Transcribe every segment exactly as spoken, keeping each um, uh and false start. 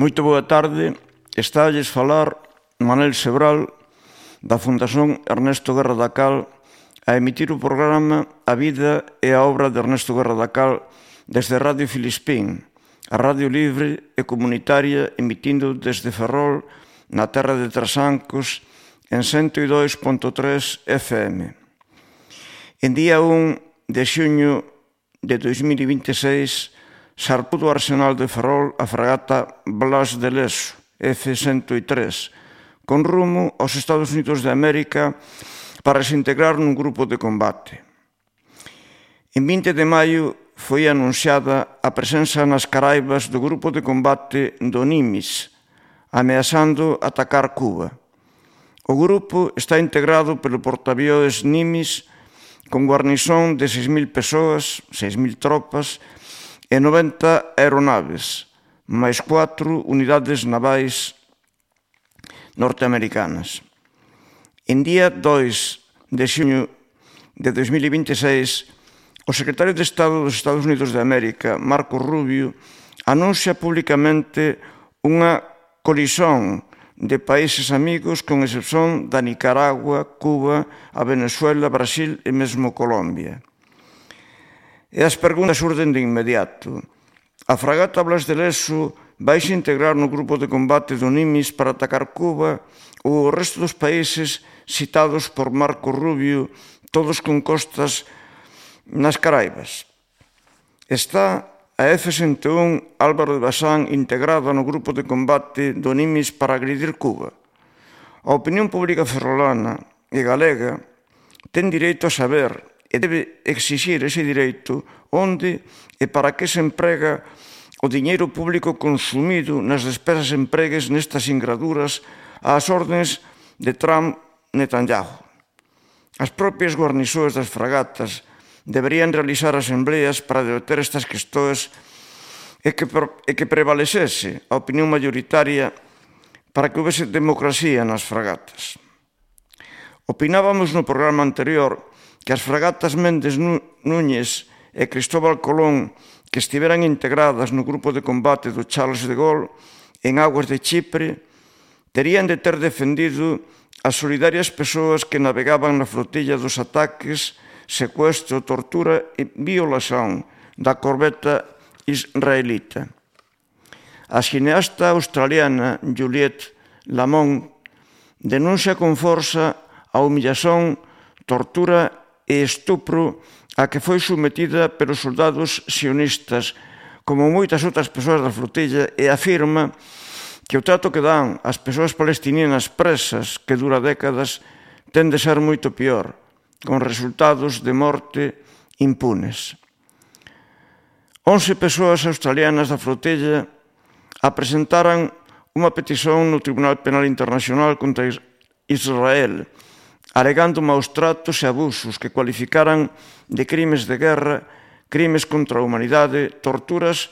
Moito boa tarde, estalles falar Manel Sebral da Fundación Ernesto Guerra da Cal a emitir o programa A vida e a obra de Ernesto Guerra da Cal desde Radio Filispín, a radio libre e comunitaria emitindo desde Ferrol na terra de Trasancos en ciento dos punto tres F M. En día un de xuño de dois mil e vinte e seis zarpou do Arsenal de Ferrol a fragata Blas de Leso, F ciento tres, con rumo aos Estados Unidos de América para se integrar nun grupo de combate. En vinte de maio foi anunciada a presenza nas Caraibas do grupo de combate do Nimis, ameazando atacar Cuba. O grupo está integrado pelo portaavións Nimis con guarnición de seis mil persoas, seis mil tropas e noventa aeronaves, máis cuatro unidades navais norteamericanas. En día dois de xuño de dois mil e vinte e seis, o secretario de Estado dos Estados Unidos de América, Marco Rubio, anuncia públicamente unha colisión de países amigos con excepción da Nicaragua, Cuba, a Venezuela, Brasil e mesmo Colombia. E as preguntas surden de inmediato. A fragata Blas de Leso vai se integrar no grupo de combate do Nimis para atacar Cuba ou o resto dos países citados por Marco Rubio, todos con costas nas Caraibas? Está a F ciento un Álvaro de Bazán integrada no grupo de combate do Nimis para agredir Cuba? A opinión pública ferrolana e galega ten direito a saber e debe exixir ese direito onde e para que se emprega o diñeiro público consumido nas despesas empregues nestas ingraduras ás ordenes de Trump Netanyahu. As propias guarniçoes das fragatas deberían realizar asembleas para debater estas questões e que, e que prevalecese a opinión mayoritaria para que houvese democracia nas fragatas. Opinábamos no programa anterior que as fragatas Méndez Núñez e Cristóbal Colón, que estiveran integradas no grupo de combate do Charles de Gaulle en aguas de Chipre, terían de ter defendido as solidarias persoas que navegaban na flotilla dos ataques, secuestro, tortura e violación da corbeta israelita. A cineasta australiana Juliette Lamont denuncia con forza a humillación, tortura e estupro a que foi sometida pelos soldados sionistas, como moitas outras persoas da flotilla, e afirma que o trato que dan ás persoas palestinianas presas, que dura décadas, ten de ser moito pior, con resultados de morte impunes. Once persoas australianas da flotilla apresentaran unha petición no Tribunal Penal Internacional contra Israel, alegando maus tratos e abusos que cualificaran de crimes de guerra, crimes contra a humanidade, torturas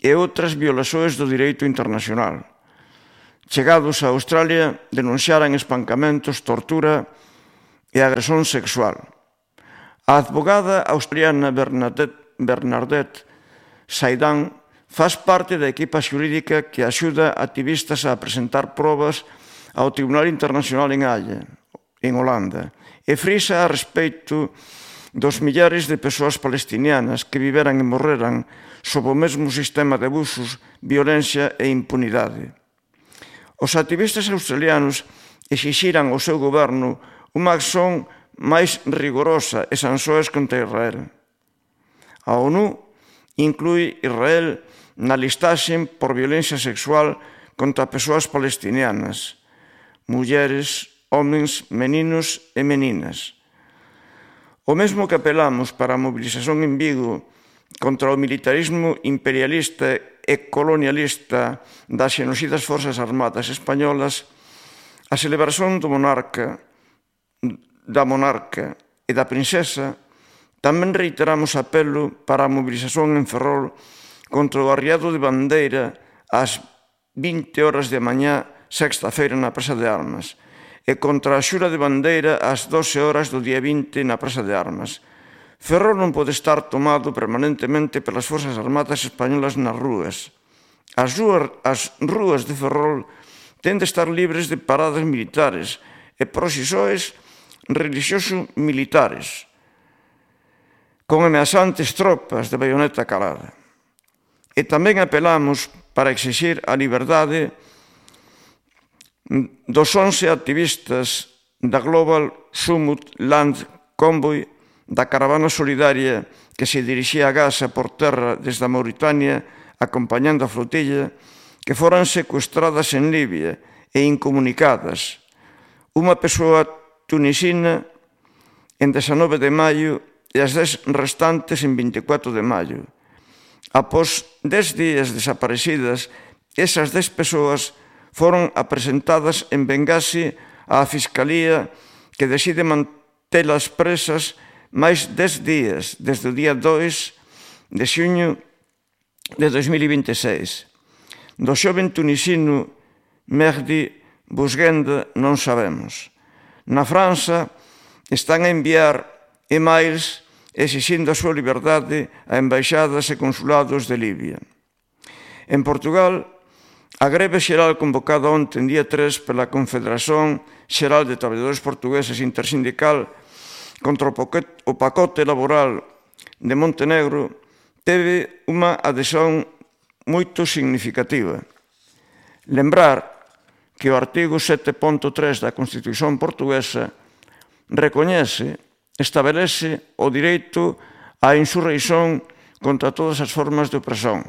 e outras violações do direito internacional. Chegados a Australia, denunciaran espancamentos, tortura e agresión sexual. A advogada australiana Bernadette, Bernadette Saidan faz parte da equipa xurídica que axuda activistas a presentar probas ao Tribunal Internacional en Haia, en Holanda, e frisa a respeito dos millares de persoas palestinianas que viveran e morreran sob o mesmo sistema de abusos, violencia e impunidade. Os activistas australianos exixiran ao seu goberno unha acción máis rigorosa e sanções contra Israel. A ONU inclui Israel na listaxe por violencia sexual contra persoas palestinianas, mulleres, homens, meninos e meninas. O mesmo que apelamos para a mobilización en Vigo contra o militarismo imperialista e colonialista das xenocidas forzas armadas españolas, a celebración do monarca, da monarca e da princesa, tamén reiteramos apelo para a mobilización en Ferrol contra o arriado de bandeira ás vinte horas de mañá, sexta-feira, na Praza de Armas, e contra a xura de bandeira ás doce horas do día vinte na Praza de Armas. Ferrol non pode estar tomado permanentemente pelas forzas armadas españolas nas rúas. As rúas de Ferrol ten de estar libres de paradas militares e proxisores religioso-militares, con ameaçantes tropas de baioneta calada. E tamén apelamos para exixir a liberdade dos once activistas da Global Summit Land Convoy, da caravana solidaria que se dirixía a Gaza por terra desde a Mauritania, acompañando a flotilla, que foran secuestradas en Libia e incomunicadas. Unha persoa tunisina en dezanove de maio e as dez restantes en vinte e catro de maio. Após dez días desaparecidas, esas dez persoas foron apresentadas en Bengasi á Fiscalía, que decide mantelas presas máis dez días, desde o día dois de xuño de dos mil vinte e seis. Do xoven tunisino Mehdi Bouzguenda non sabemos. Na França están a enviar emails exixindo a súa liberdade a embaixadas e consulados de Libia. En Portugal, a greve xeral convocada onte, en día tres, pela Confederación Xeral de Traballadores Portugueses Intersindical contra o pacote laboral de Montenegro teve unha adhesión moito significativa. Lembrar que o artigo sete punto tres da Constitución portuguesa recoñece, estabelece o direito á insurreición contra todas as formas de opresión.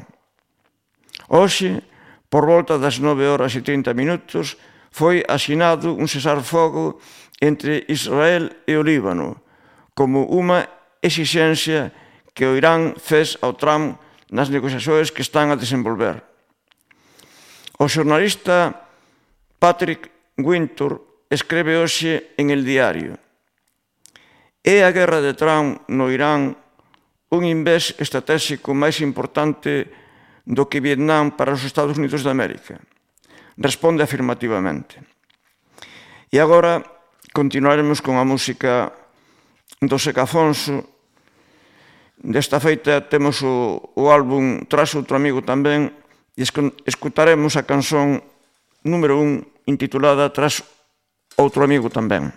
Hoxe, por volta das nove horas e trinta minutos, foi asinado un cesar-fogo entre Israel e o Líbano, como unha exixencia que o Irán fez ao Trump nas negociacións que están a desenvolver. O xornalista Patrick Wintour escreve hoxe en El Diario: é a guerra de Trump no Irán un invés estratégico máis importante do que Vietnam para os Estados Unidos de América? Responde afirmativamente. E agora continuaremos con a música do Seca Afonso. Desta feita temos o, o álbum Tras outro amigo tamén, e escutaremos a canción número un intitulada Tras outro amigo tamén.